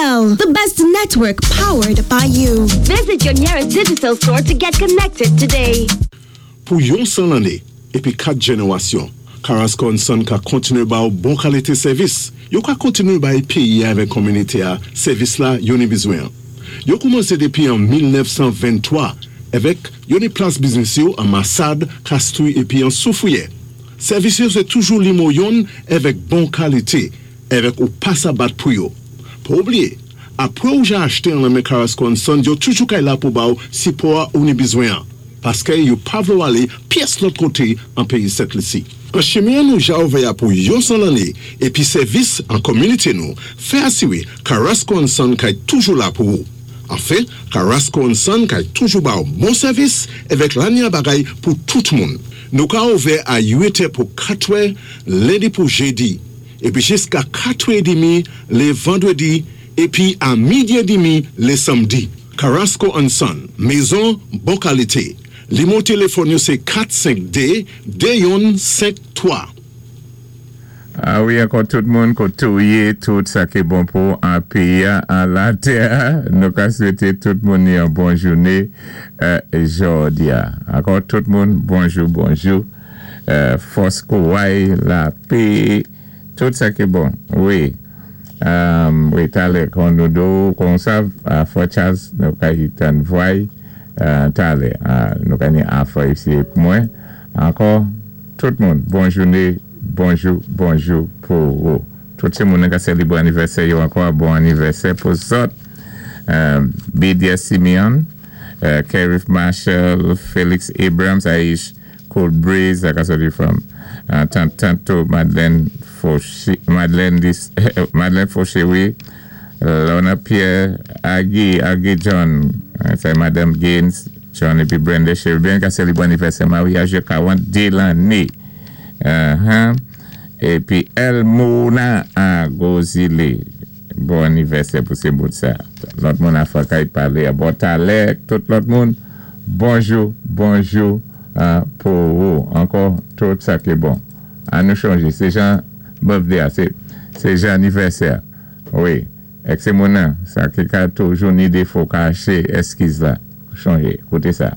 Digicel, the best network powered by you. Visit your nearest Digicel store to get connected today. Pou yon 100 lanné épi 4 jènérasyon, Carrasco and Son ka kontinué ba ou bon kalité sèvis. Yo ka kontinué bay péyi-a avèk kominité-a sèvis la yo ni bizwen an. Yo koumansé dépi an 1923 avèk yo ni plas biznis yo an Masad, Kastri épi an Soufriyè. Sèvis yo sé toujou limo yonn avèk bon kalité avèk ou pa sa bat pou yo. Pa oubliyé, apwé ou ja achte an lan men Carrasco and Son yo toujou kay la pou ba ou sipò-a ou ni bizwen an. Paskè yo pa vlé ou alé pyès lòt koté an péyi Sent Lisi. An chimen an nou ja ouvè a pou yon 100 lanné épi sèvis an kominité nou fè asiré Carrasco and Son kay toujou la pou ou. Anfen, Carrasco and Son kay toujou ba ou bon sèvis èvèk lanya bagay pou tout moun. Nou ka ouvè a 8 è pou 4 è lendi pou jedi épi jiska 4 è demi lé vandwédi épi a midi é demi lé sanmdi. Carrasco and Son, mezon bon kalité. Limo téléfòn yo sé 452 2153. A wi ankò tout moun koté ou yé tout sa ki bon pou an péyi-a an latè nou ka swété tout moun yon bon jouné jòdi-a ankò tout moun bonjou bonjou fòs kouray lapé tout sa ki bon wi wi talè kon nou do konsa frè Charles nou ka tann vway talè nou ka ni afè isi pou mwen ankò tout moun bon jouné Bonjou bonjou pou ou tout se moun ka selebre anivèsè yo ankò bon anivèsè pou zòt Bidia Simeon Kerith Marshall Felix Abrams Aish Cool Breeze sa ka soti from tant tanto Madeleine Fauché Madeleine Madeleine Fauché wi Lorna Pierre Aggie Aggie John sa Madame Gaines John epi Brenda Cherubin ka selebre anivèsè maryaj yo 42 lanne. Ahh epi Elmona a Gozile bon anivèsè pou se moun sa lòt moun a fòkay pale a bon talè tout lòt moun bonjou bonjou pou ou ankò tout sa ki bon an nou chonje se jan birthday a se se jan anivèsè a wi ek se moun nan sa ki ka toujou ni defo kache eskiz la chonje koute sa.